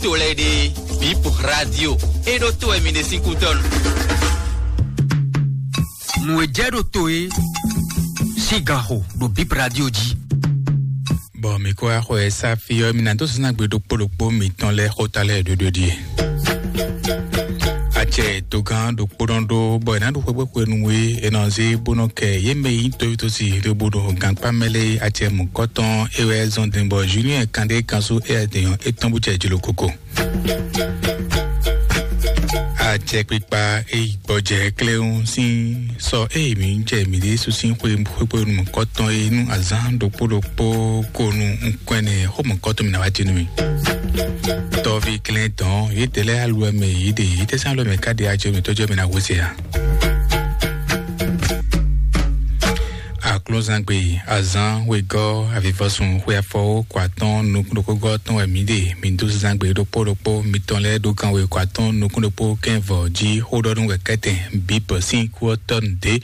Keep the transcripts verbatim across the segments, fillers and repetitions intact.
to lɛ́ɛ ɖe, Bip Radio. E ɖo to wɛ mi ɖe sín kútɔ́nu. Nǔ e jɛ ɖo to e sín gan xo ɖo Bip Radio jí. Bɔ mi kó axɔ ɛ sá fi ɔ́, mi ná dó zínagbe ɖokpó ɖokpó mitɔn lɛ́ɛ xóta lɛ́ɛ ɖoɖo ɖíe. Acɛ dogán ɖokpó nɔ ɖó, bɔ è nǎ ɖo xwéxwéxwenu e è nɔ zé bó nɔ kɛ yě mɛ yi tóvítósi ɖo bó ɖo gankpá mɛ lé acɛ mɔ̌kɔtɔn é wɛ zɔn din bɔ Julien Kandé kanṣu é adéyɔn étɔn bó jɛ jlokoko. Acɛkpikpa e yi gbɔjɛ kléwún sín sɔ eye mǐ jɛ mǐɖée sú sín xwe xwéxwenu mɔ̌kɔtɔn e nú azǎn ɖokpó ɖokpó ko nu nukɔn ɛnɛ xó mɔ̌kɔtɔn mǐ ná wá jí nú mì. Tɔ́ví klɛ́n dɔn yědɛɛ lɛ́ɛ aluwɛ mɛ yěɖe yětɛ́sán aluwɛ mɛ ká ɖe ajɔ mǐtɔn jɔ mɛ ná hwesɛ ǎ. Aklúzangbe azán wegɔ́ avivɔsun xwe afɔwó kɔ atɔ́ɔ́n nukúnɖokpógɔ́ tɔn wɛ mǐ ɖe. Mǐ dó zangbe ɖokpó ɖokpó mitɔn lɛ́ɛ ɖó kan we kɔ atɔ́ɔ́n nukúnɖokpó kɛ́nvɔ jí xó ɖɔ nú wɛ kɛ́tɛn bǐ bɔ sín kú ɔ́ tɔ́ nǔ dé.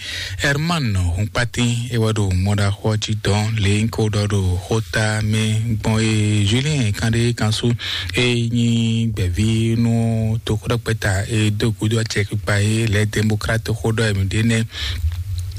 Herman Hunkpatín é wɛ ɖo mɔɖaxó ɔ́ jí dɔn lě nyí ko ɖɔ ɖo xóta mɛ gbɔn e Julien Kandé kanṣu e nyí gbɛ̌ví nú toxóɖɔgbɛ́ta e dó gúdo acɛkpikpa e lɛ̌ Demokrat xó ɖɔ e mǐ ɖe nɛ́.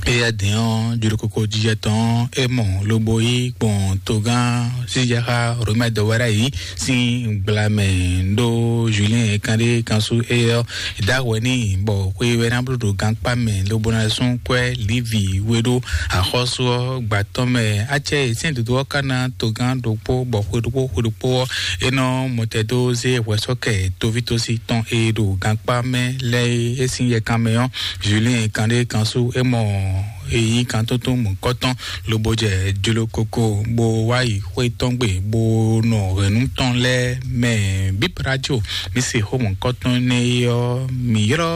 Éyɛ́ din ɔ́, jlokoko jijɛ tɔn ɔ́, é mɔ lobo yí gbɔn togán sísɛxá Romɛ dɔwɛ́rá yìí sín gblamɛ ɖó Julien Kandé kanṣu éyɛ́ ɔ́, dǎhwɛ n'i bɔ xwe wɛ ná bló ɖo gankpá mɛ lobo ná sún kwɛ́ Livi we ɖó axɔ́sú ɔ́ gba tɔn mɛ. Acɛ e sɛ́n dǒdó ɔ́ ka ná togán ɖokpó bɔ xwe ɖokpó xwe ɖokpó ɔ́, é nɔ mɔtɛdó zé hwɛsɔ́kɛ tovítósi tɔn e ɖo gankpá mɛ lɛ́ɛ é sín yɛkan mɛ ɔ́, Julien Kandé kanṣu é mɔ èyí kan tótó mɔ̌kɔtɔn lobo jɛ jlokoko bó wá yi xwé tɔn gbe bó nɔ hɛ̌nnu tɔn lɛ́ɛ mɛ. Bíbrajo mi se xó mɔ̌kɔtɔn nɛ é ɔ́, mi ylɔ́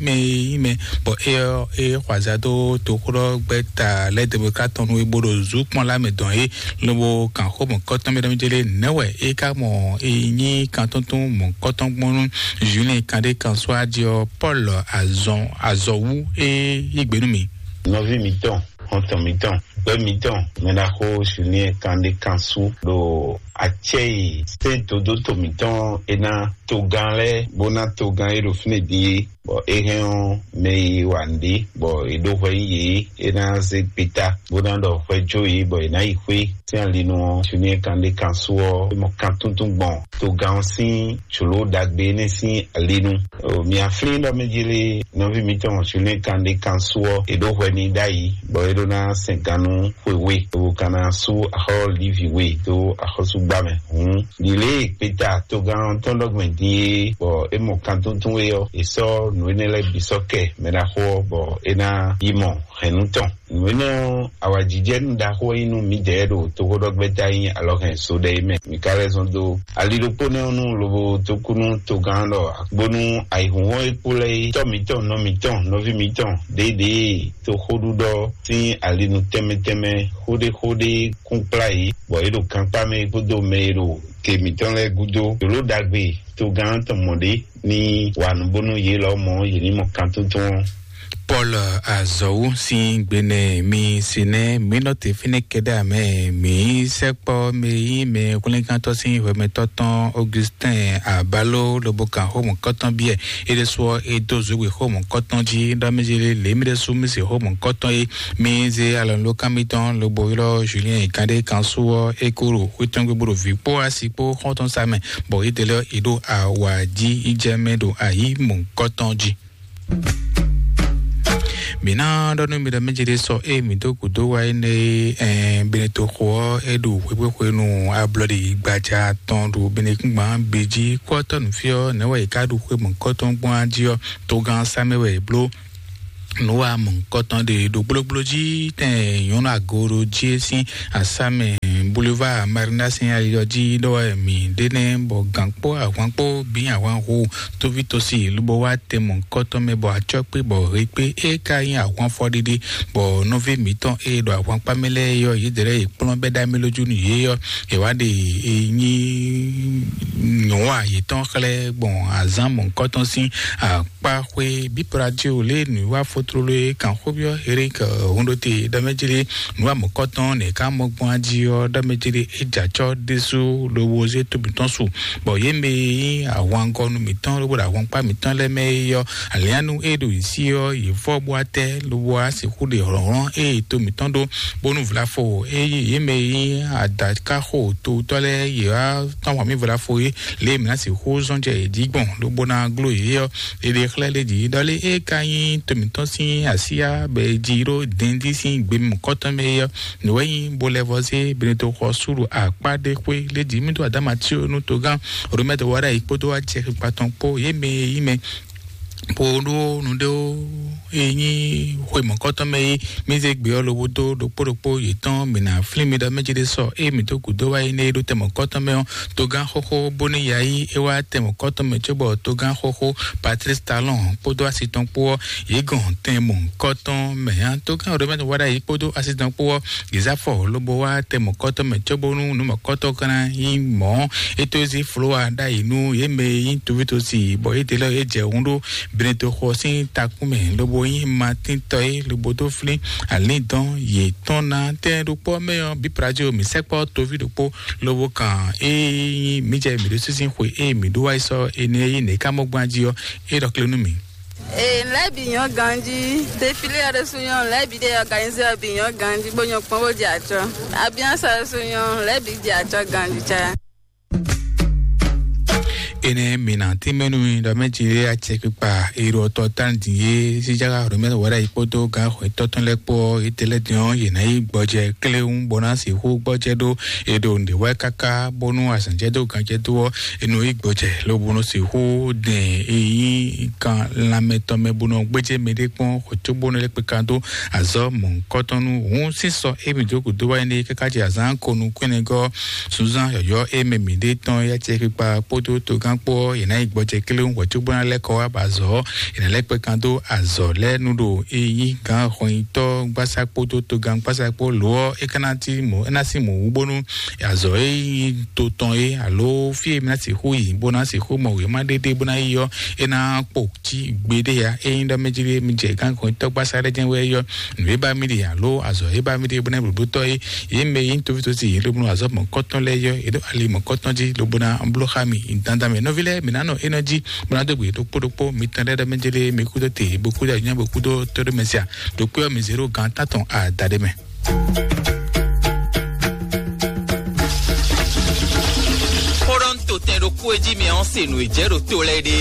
mɛ e nyí mɛ bɔ é ɔ́ é xɔ azǎ dó toxóɖɔgbɛ́ta lɛ́ɛ Demokrat tɔn nú é bó ɖo zǔ kpɔ́n lá mɛ dɔn é lobo kan xó mɔ̌kɔtɔn mɛ ɖɔ mɛ jɛ lé nɛ̌ wɛ é ka mɔ é nyí kan tótó mɔ̌kɔtɔn gbɔn nú Julien Kandé kanṣu ají ɔ́, Paul azɔn azɔ̌ wú é yí gbe nú mi. Nɔví mitɔn, xɔntɔn mitɔn, gbɛ́ mitɔn, mɛ ná xó Julien Kandé kanṣu ɖo acɛ e sɛ́n dodóto mitɔn é ná togán lɛ́ɛ bó ná togán e ɖo fínɛ́ din é, bɔ é hɛn ɔ́ mɛ e wa nǔɖé bɔ è ɖó hwɛ yí yě é ná zé gbeta bó ná ɖɔ hwɛ jó yě bɔ è nǎ yi xwé. Sín alinu ɔ́, Julien Kandé kanṣu ɔ́ é mɔ kan túntún gbɔn togán ɔ́ sín jlǒ ɖagbe énɛ́ sín alinu. Mia flín ɖɔ mɛ jele nɔví mitɔn Julien Kandé kanṣu ɔ́, è ɖó hwɛ n'i ɖ'ayǐ bɔ é ɖó ná sɛn gannú xwe we, lobo ka ná sú axɔ́ Livi we dó axɔ́súgbá mɛ. Hǔn ɖi lě e gbeta togán tɔn ɖɔgbɛn din é bɔ é mɔ kan túntún é ɔ́, è sɔ́ nǔ énɛ́ lɛ́ɛ bǐ sɔ́ kɛ mɛ ɖaxó ɔ́ bɔ é ná yi mɔ hɛ̌nnu tɔn. Nǔ énɛ́ ɔ́, awǎjijɛnú ɖaxó wɛ nyí nú mǐdɛɛ ɖo toxóɖɔgbɛ́ta nyí alɔhɛn so ɖɛ é mɛ. Mǐ ka lɛ́ zɔn dó ali ɖokpó nɛ́ ɔ́ nú lobo dó kú nú togán ɖɔ bónú ayǐhúnhɔ́n e kpo lɛ́ɛ é tɔ́ mǐtɔn, nɔ mǐtɔn, nɔví mǐtɔn ɖěeɖée toxóɖuɖɔ sín alinu tɛnmɛ tɛnmɛ xóɖéxóɖé kún kplá yě, bɔ yě ɖo gankpá mɛ kpódó mɛ e ɖo ke mǐtɔn lɛ́ɛ gúdo. Jlǒ ɖagbe togán tɔn mɔ ɖě ní wa nǔ bónú yě lɔmɔ̌ yě ní mɔ kan tuntun ɔ́. Paul azɔ̌wu sín gbenɛ mi si nɛ mi nɔ te fínɛ́ kɛɖɛ amɛ mi sɛkpɔ mi yí mi hwlɛ́ngántɔ́ sín hwɛmɛtɔ́ tɔn Augustin Abalo lobo kan xó mɔ̌kɔtɔn biɛ é ɖésú ɔ́ é dó zǔgbǐ xó mɔ̌kɔtɔn jí ɖɔ mi jí lě mi ɖésú mi se xó mɔ̌kɔtɔn é mi zé alɔnulókan mitɔn lobo ylɔ́ Julien Kandé kanṣu ɔ́ é kó ɖo xwé tɔn gbe bó ɖo vǐ kpó asi kpó xɔ́ntɔn sa mɛ bɔ é délé é ɖo awǎ jí í jɛ mɛ ɖo ayǐ mɔ̌kɔtɔn jí. Mǐ ná ɖɔ nú mi ɖɔ mɛ jɛ ɖé sɔ ée mǐ dó gǔdo wá énɛ́ é, ɛn, Benetoxo ɔ́, é ɖo xwéxwéxwenu ablɔɖi gbaja tɔn ɖo Benekúngban bǐ jí. Kú ɔ́ tɔ́ nǔ fí ɔ́, nɛ̌ wɛ è ká ɖu xwé mɔ̌kɔtɔn gbɔn á jí ɔ́, togán sá mɛ wɛ è bló. Nǔwa mɔ̌kɔtɔn ɖe ɖo gblógbló jí tɛn nyɔ̌nu agoro jí é sín asámɛ Boulevard Marina sín ali ɔ́ jí ɖɔ wɛ mǐ ɖe nɛ́ bɔ gǎn kpó ahwan kpó bǐ ahwan hu tóví tosi lobo wá tɛn mɔ̌kɔtɔn mɛ bɔ acɔ́ kpé bɔ he kpé é ka nyí ahwan fɔɖiɖi bɔ nɔví mǐtɔn e ɖo ahwankpá mɛ lɛ́ɛ yɔ yědɛɛ lɛ́ɛ yě kplɔ́n bɛ́ ɖ'amɛ lójú nú yě ɔ́, è wá ɖe e nyí nyɔ̌wa yětɔn xlɛ́ gbɔn azǎn mɔ̌kɔtɔn sín akpá xwé bípra jí o lě nǔwiwa fótlóló e kan xóbyɔ́ Erik Hunɖote ɖɔ mɛ jí lé nǔwa mɔ̌kɔtɔn nɛ ká mɔ gbɔn ají ɔ́ ɖɔ mɛ ce ɖe é jɛ acɔ́ ɖésú lobo zé tó mǐtɔn su, bɔ yě mɛ e nyí ahwangɔnu mǐtɔn lobo ɖo ahwankpá mǐtɔn lɛ́ɛ mɛ é yɔ alianu é ɖo yě sí ɔ́, yě fɔ bó atɛ lobo wá sixú ɖe hlɔ̌nhlɔ́n é yi to mǐtɔn ɖó, bónú vlafo é yí yě mɛ e nyí adakáxo towutɔ́ lɛ́ɛ yě wá tɔ́n wǎn mì vlafo é lě e mǐ ná sixú zɔ́n jɛ yě jí gbɔn lobo ná gló yě ɔ́. Ɖeɖe xlɛ́ lé jǐ ɖɔ lé é ka nyí to mǐtɔn sín asíyá bɔ è ji ɖó dɛndí sín gbe mɔ̌kɔtɔn mɛ é ɔ́. Nǔ wɛ nyí bó lɛ́ vɔ zé Benito xɔ súɖu akpá ɖé xwé lé jǐ mì dó Adama tí ó nú togán Romɛto wá ɖ'ayǐ kpódó acɛ xikpa tɔn kpó yě mɛ e nyí mɛ kpo ɖó nǔɖéwo e nyí xwe mɔ̌kɔtɔn mɛ é mì zé gbé ɔ́ lobo dó ɖokpó ɖokpó yětɔn mǐ ná flín mi ɖɔ mɛ jí ɖé sɔ ée mǐ dó gǔdo wá yi nɛ́ é ɖó tɛmɔ̌kɔtɔn mɛ ɔ́. Togán xóxó bónú ya yí é wá tɛmɔ̌kɔtɔn mɛ cóbɔ togán xóxó Patrice Talon kpódó asi tɔn kpó ɔ́, yě gɔn tɛn mɔ̌kɔtɔn mɛ ǎ. Togán Romɛto wá ɖ'ayǐ kpódó asi tɔn kpó ɔ́, yě zá fɔ lobo wá tɛmɔ̌kɔtɔn mɛ cóbónú nǔmɔ̌kɔtɔn ka ná nyí mɔ̌. É tó zí Flowa ɖ'ayǐ nú yě mɛ e nyí tovítosi bɔ yě ɖe lɛ́ɛ yě jɛ hun ɖó Benito xɔ sín takún mɛ lobo nyí Matín tɔ é lobo dó flín alǐndɔn yětɔn ná. Tɛn ɖokpó mɛ ɔ́, Bipradio mǐ sɛkpɔ́ toví ɖokpó lobo kan ée nyí mǐ jɛ mǐ ɖó sísí xwe ée mǐ ɖó wá yi sɔ́ énɛ́ e nyí nɛ̌ ká mɔ gbɔn jí ɔ́, é ɖɔ kle nú mǐ. Ee, lɛ́ bǐ nyɔ́ ganjí. Défilé ɔ́ ɖésú nyɔ́, lɛ́ bǐ ɖe organisé ɔ́ bǐ nyɔ́ ganjí, bó nyɔ́ kpɔ́n bó jɛ acɔ́. Ambiance ɔ́ ɖésú nyɔ́, lɛ́ bǐ jɛ acɔ́ ganjí cá. Énɛ́ mǐ ná tínmɛ nú mi ɖɔ mɛ jí lé acɛkpikpa èrò ɔtɔ tán dín é síjára Romɛ́ wɛɖɛ yi kpódó gǎn xwetɔ́ tɔn lɛ́ɛ kpó ɔ́, étɛlɛ́ dín ɔ́, yě ná yi gbɔjɛ kléwún bó ná sixú gbɔjɛ ɖó è ɖo nǔɖé wɛ káká bónú azǎn jɛ dó gǎn jɛ dó ɔ́, è nɔ yi gbɔjɛ lobo nɔ sixú dɛn e nyí kan lanmɛ tɔn mɛ bó nɔ gbéjé mɛɖé kpɔ́n xwetó bó nɔ lɛ́ kpe kan dó azɔ̌ mɔ̌hunkɔtɔn nú hǔn sín sɔ émí dó gǔdo wá énɛ́ káká jɛ azǎn ko nukúnnɛgɔ́ sunzán yɔ̌yɔ́ e mɛ mǐɖée tɔn yá cɛ kpikpa kpódó togán kpó ɔ́, yě ná yi gbɔjɛ kléwún hwɛ̌ cóbó ná lɛ́ kɔ wá ba azɔ̌ ɔ́, yě ná lɛ́ kpɛ kan dó azɔ̌ lɛ́ɛ nú ɖo e nyí gǎn xɔnyitɔ́ gbásá kpódó togán gbásá kpó lǒ ɔ́, é ka ná cí mɔ̌, é ná sín mɔ̌ wú bónú azɔ̌ e nyí to tɔn é alo fí e mǐ ná sixú yi bó ná sixú mɔ wěma ɖéɖé bó ná yi ɔ́, é ná kpo cí gbeɖé ya. Ényí ɖɔ mɛ jí mi jɛ gǎn xɔnyitɔ́ gbásá ɖé jɛ́n wɛ é yɔ nǔ e ba mì ɖe alo azɔ̌ e ba mì ɖe bó ná blǒblótɔ́ é, yě mɛ e nyí tovítɔ́sí yě lobnú azɔ̌ mɔ̌kɔtɔn lɛ́ɛ yɔ, yě ɖo ali mɔ̌kɔtɔn jí lobo ná bló xá mì dandan mɛ. Nɔví lɛ́ɛ, mǐ ná nɔ énɔ jí bó ná dó gbe ɖokpó ɖokpó mitɔn lɛ́ɛ ɖɔ mɛ jí lé mi kúdó te bó kúdó anyá bó kúdó tɔ́ ɖó mɛ sia ɖokpó ɔ́ mi zé ɖó gǎn tán tɔn ada ɖé mɛ. Xó ɖɔ ń to tɛn ɖokpó e jí mi ɔ́ se nǔ e jɛ ɖo to lɛ́ɛ ɖe.